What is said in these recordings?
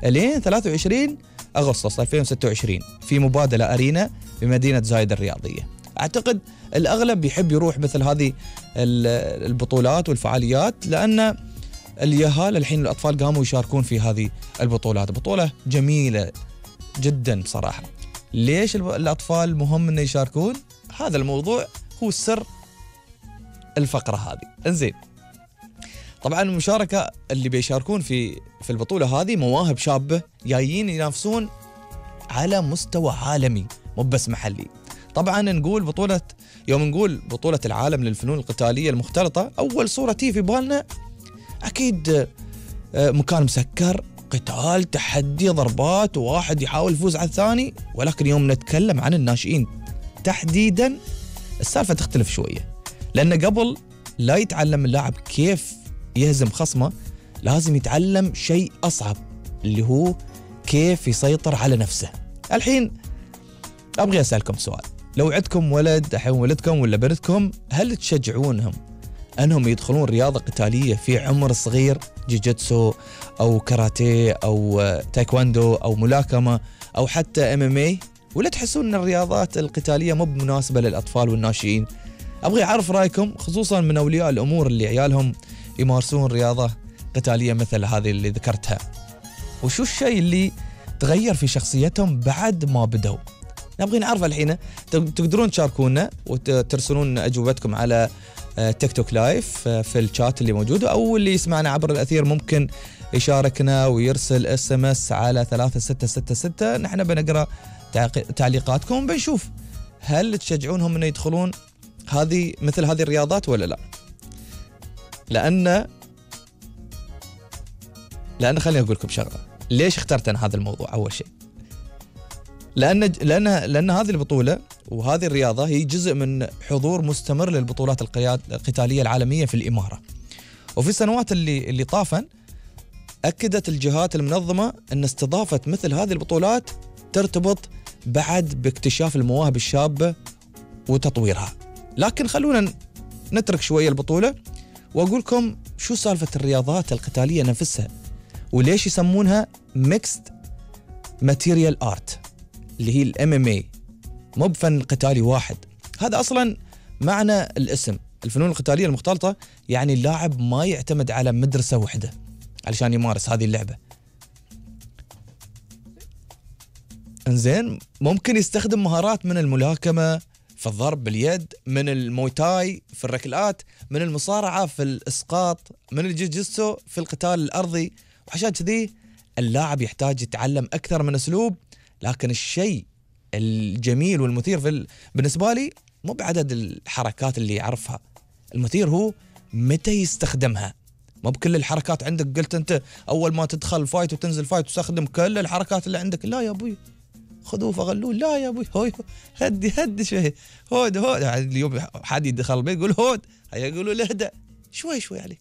لين 23 أغسطس 2026 في مبادلة أرينا بمدينة زايد الرياضية. أعتقد الأغلب يحب يروح مثل هذه البطولات والفعاليات، لأن اليهال الحين الأطفال قاموا يشاركون في هذه البطولات. بطولة جميلة جدا صراحة. ليش الأطفال مهم أن يشاركون؟ هذا الموضوع هو سر الفقرة هذه. انزين، طبعا المشاركة اللي بيشاركون في البطولة هذه مواهب شابة جايين ينافسون على مستوى عالمي مو بس محلي. طبعا يوم نقول بطولة العالم للفنون القتالية المختلطة، أول صورة تيجي في بالنا أكيد مكان مسكر، قتال، تحدي، ضربات، وواحد يحاول يفوز على الثاني. ولكن يوم نتكلم عن الناشئين تحديدا السالفة تختلف شوية، لأن قبل لا يتعلم اللاعب كيف يهزم خصمه لازم يتعلم شيء أصعب، اللي هو كيف يسيطر على نفسه. الحين أبغي أسألكم سؤال، لو عندكم ولد، الحين ولدكم ولا بنتكم، هل تشجعونهم أنهم يدخلون رياضة قتالية في عمر صغير، جيجيتسو أو كاراتيه أو تايكواندو أو ملاكمة أو حتى MMA، ولا تحسون أن الرياضات القتالية مو مناسبة للأطفال والناشئين؟ أبغي أعرف رأيكم، خصوصا من أولياء الأمور اللي عيالهم يمارسون رياضة قتالية مثل هذه اللي ذكرتها. وشو الشيء اللي تغير في شخصيتهم بعد ما بدوا؟ نبغي نعرف الحين. تقدرون تشاركونا وترسلون أجوبتكم على تيك توك لايف في الشات اللي موجود، أو اللي يسمعنا عبر الأثير ممكن يشاركنا ويرسل SMS على 3666. نحن بنقرأ تعليقاتكم، بنشوف هل تشجعونهم أن يدخلون مثل هذه الرياضات ولا لا. لأن خليني أقول لكم شغلة، ليش اخترت أنا هذا الموضوع؟ أول شيء لأن هذه البطولة وهذه الرياضة هي جزء من حضور مستمر للبطولات القتالية العالمية في الإمارة. وفي السنوات اللي طافن أكدت الجهات المنظمة أن استضافة مثل هذه البطولات ترتبط بعد باكتشاف المواهب الشابة وتطويرها. لكن خلونا نترك شوية البطولة وأقول لكم شو سالفة الرياضات القتالية نفسها، وليش يسمونها Mixed Material Art اللي هي MMA، مو بفن قتالي واحد. هذا أصلا معنى الاسم. الفنون القتالية المختلطة يعني اللاعب ما يعتمد على مدرسة واحدة علشان يمارس هذه اللعبة. انزين، ممكن يستخدم مهارات من الملاكمة في الضرب باليد، من المويتاي في الركلات، من المصارعة في الإسقاط، من الجيجيتسو في القتال الأرضي. وعشان كذي اللاعب يحتاج يتعلم أكثر من أسلوب. لكن الشيء الجميل والمثير بالنسبة لي مو بعدد الحركات اللي يعرفها، المثير هو متى يستخدمها. مو بكل الحركات عندك قلت أنت أول ما تدخل فايت وتنزل فايت تستخدم كل الحركات اللي عندك. لا يا أبوي، خذوه فغلوه. لا يا أبوي، هوي هدي شوي، هود اليوم حد يدخل البيت يقول هود، هيا يقولوا له اهدأ شوي عليه.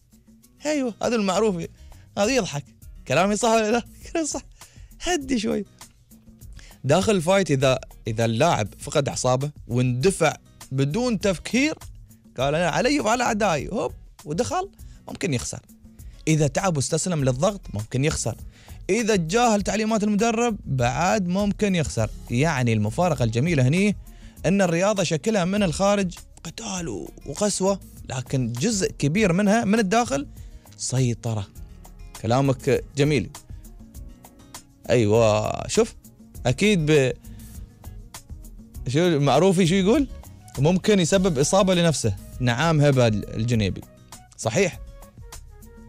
ايوه هذا المعروف. هذا يضحك، كلامي صح ولا لا؟ كلامي صح. هدي شوي. داخل الفايت إذا اللاعب فقد أعصابه واندفع بدون تفكير، قال أنا علي وعلى أعدائي، هوب ودخل، ممكن يخسر. إذا تعب واستسلم للضغط ممكن يخسر. إذا تجاهل تعليمات المدرب بعد ممكن يخسر. يعني المفارقة الجميلة هني أن الرياضة شكلها من الخارج قتال وقسوة، لكن جزء كبير منها من الداخل سيطرة. كلامك جميل. أيوة، شوف أكيد شو معروفي شو يقول؟ ممكن يسبب إصابة لنفسه. نعم هبة الجنيبي صحيح،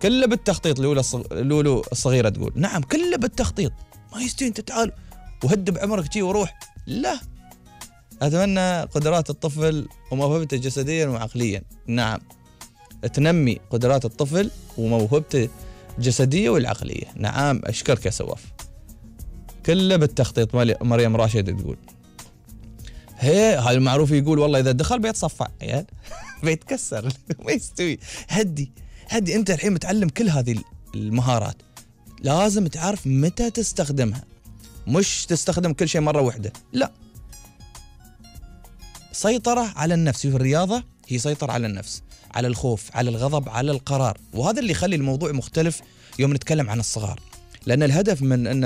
كله بالتخطيط. لولو الصغيرة تقول نعم كله بالتخطيط، ما يستوي انت تعال وهد بعمرك شي وروح. لا، أتمنى قدرات الطفل وموهبته جسديا وعقليا. نعم، تنمي قدرات الطفل وموهبته الجسدية والعقلية. نعم، أشكرك يا سواف. كله بالتخطيط. مريم راشد تقول هذا المعروف يقول والله إذا دخل بيتصفع يعني بيتكسر ما يستوي. هدي أنت الحين متعلم كل هذه المهارات، لازم تعرف متى تستخدمها، مش تستخدم كل شيء مرة واحدة. لا، سيطرة على النفس. في الرياضة هي سيطرة على النفس، على الخوف، على الغضب، على القرار. وهذا اللي يخلي الموضوع مختلف يوم نتكلم عن الصغار، لأن الهدف من أن